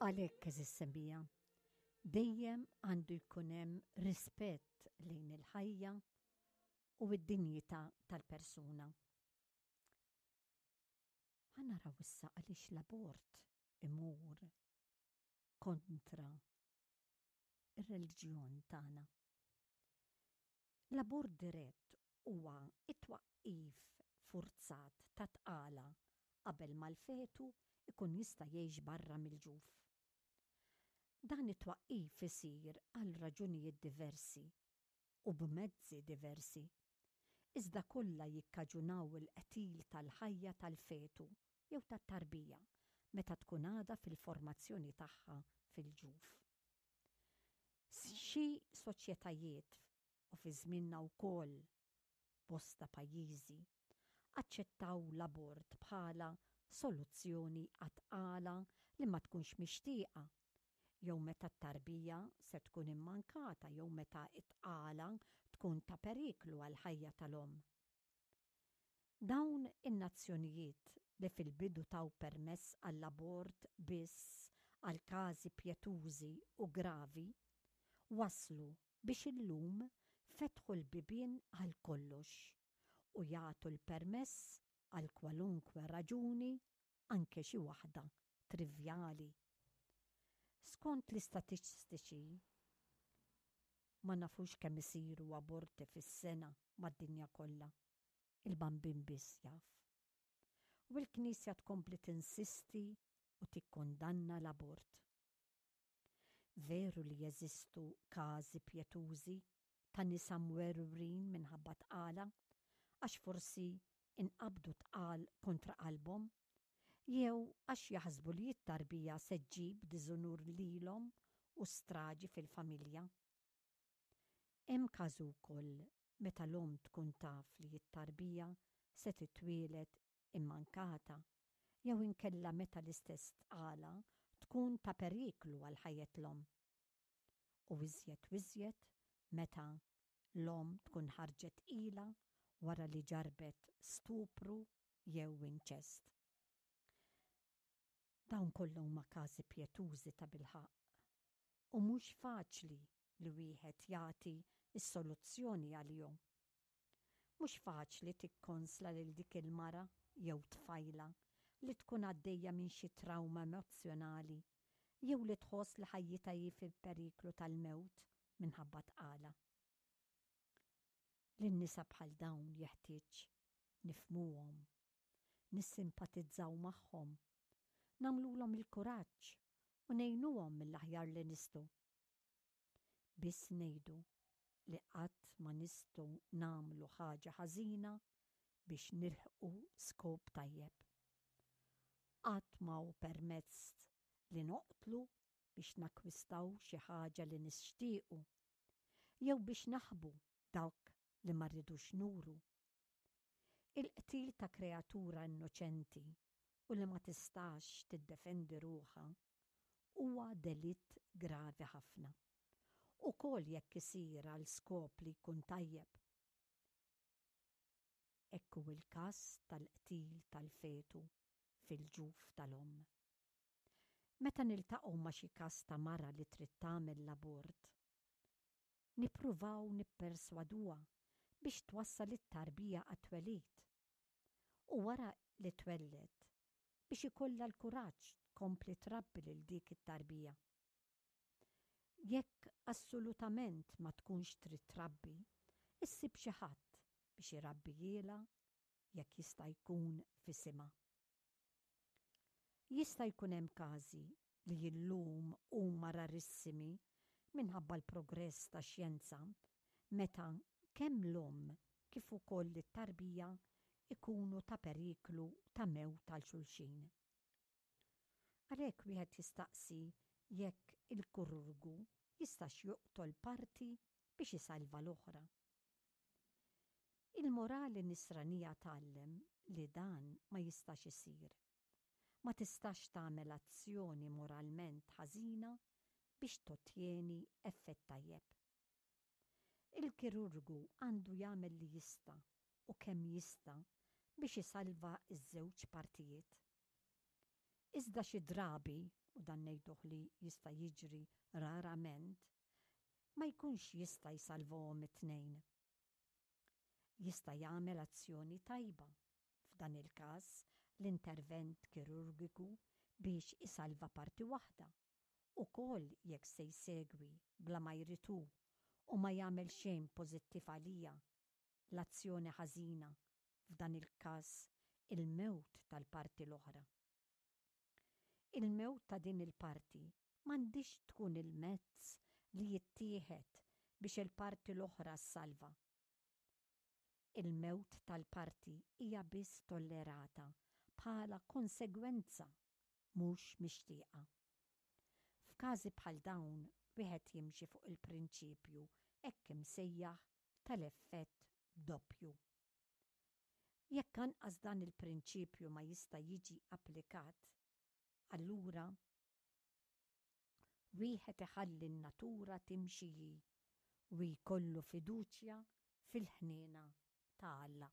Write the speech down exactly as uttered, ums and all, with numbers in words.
Għalhekk, għeżież semmiegħa, dejjem għandu jkun hemm rispett lejn il-ħajja u d-dinjità tal-persuna. Ħa naraw issa għaliex l-abort imur kontra ir-reliġjon tagħna. L-abort dirett huwa it-twaqqif furzat ta' tqala qabel ma l-fetu ikun jista' jgħix barra mill-ġuf. Dan it-twaqqif isir għal raġunijiet diversi u b'mezzi diversi, iżda kollha jikkaġunaw il-qtil tal-ħajja tal-fetu jew tat-tarbija meta tkun għadha fil-formazzjoni tagħha fil-ġuf. Xi soċjetajiet u fi żmienna wkoll bosta pajjiżi aċċettaw l-abort bħala soluzzjoni għat-tqala li ma tkunx mixtieqa jew meta t-tarbija se tkun immankata jew meta t-tqala tkun ta' periklu għall-ħajja tal-omm. Dawn in-nazzjonijiet li fil-bidu taw permess għall-abort biss għal każi pjetużi u gravi, waslu biex illum fetħu l-bibien għal kollox u jagħtu l-permess għal kwalunkwe raġuni, anke xi waħda trivjali. Skont l-istatistiċi, ma nafux kemm isiru aborti fis-sena mad-dinja kollha. Il-Bambin biss jaf. U l-Knisja tkompli tinsisti u tikkondanna l-abort. Veru li jeżistu każi pjetużi ta' nisa mwerwrin minħabba tqala, għax forsi inqabdu tqal kontra qalbhom, jew għax jaħsbu li t-tarbija se ġġib diżunur lilhom u straġi fil-familja. Hemm każu wkoll meta l-omm tkun taf li t-tarbija se titwieled immankata jew inkella meta l-istess tqala tkun ta' periklu għal ħajjet l-omm. U iżjed u iżjed meta l-omm tkun ħarġet tqila wara li ġarbet stupru jew inċest. Dawn kollha huma każi pjetużi tabilħaqq u mhux faċli li wieħed jagħti s-soluzzjoni għalihom. Mhux faċli tikkonsla lil dik il-mara jew tfajla li tkun għaddejja minn xi trawma emozzjonali jew li tħoss li ħajjitha hi fil-periklu tal-mewt minħabba tqala. Lin-nisa bħal dawn jeħtieġ nifhmuhom, nissimpatizzaw magħhom, nagħmlulhom il-kuraġġ u ngħinuhom mill-aħjar li nistgħu. Biss ngħidu li qatt ma nistgħu nagħmlu ħaġa ħażina biex nilħqu skop tajjeb. Qatt ma hu permezz li noqtlu biex nakwistaw xi ħaġa li nixtiequ jew biex naħbu dak li ma rridux nuru. Il-qtil ta' kreatura innoċenti u li ma tistax tiddefendi ruħha huwa delitt gravi ħafna. Ukoll jekk isir għal skop li jkun tajjeb. Hekk hu l-każ tal-qtil tal-fetu fil-ġuf tal-omm. Meta niltaqgħu ma' xi każ ta' mara li trid tagħmel l-abort, nippruvaw nipperswaduha biex twassal it-tarbija għat-twelid. U wara li twelled, biex ikollha l-kuraġġ tkompli trabbi lil dik it-tarbija. Jekk assolutament ma tkunx trid trabbi, issib xi ħadd biex irabbihielha jekk jista' jkun f'isimha. Jista' jkun hemm każi li illum huma rarissimi minħabba l-progress tax-xjenza meta kemm l-omm kif ukoll it-tarbija ikunu ta' periklu ta' mewt għal xulxin. Għalhekk wieħed jistaqsi jekk il-kirurgu jistax joqtol parti biex isalva l-oħra. Il-morali nisranija tgħallem li dan ma jistax isir. Ma tistax tagħmel azzjoni moralment ħażina biex tottjeni effett tajjeb. Il-kirurgu għandu jagħmel li jista' u kemm jista' biex isalva ż-żewġ partijiet. Iżda xi drabi, u dan ngħiduh li jista' jiġri rarament, ma jkunx jista' jsalvahom it-tnejn. Jista' jagħmel azzjoni tajba, f'dan il-każ l-intervent kirurgiku biex isalva parti waħda, ukoll jekk se jsegwi bla ma jrid hu u ma jagħmel xejn pożittiv għaliha l-azzjoni ħażina, f'dan il-każ il-mewt tal-parti l-oħra. Il-mewt ta' din il-parti m'għandhiex tkun il-mezz li jittieħed biex il-parti l-oħra ssalva. Il-mewt tal-parti hija biss tollerata bħala konsegwenza mhux mixtieqa. F'każi bħal dawn wieħed jimxi fuq il-prinċipju hekk imsejjaħ tal-effett doppju. Jekk anqas dan il-prinċipju ma jista' jiġi applikat, allura wieħed iħalli n-natura timxi hi u jkollu fiduċja fil-ħniena ta' Alla.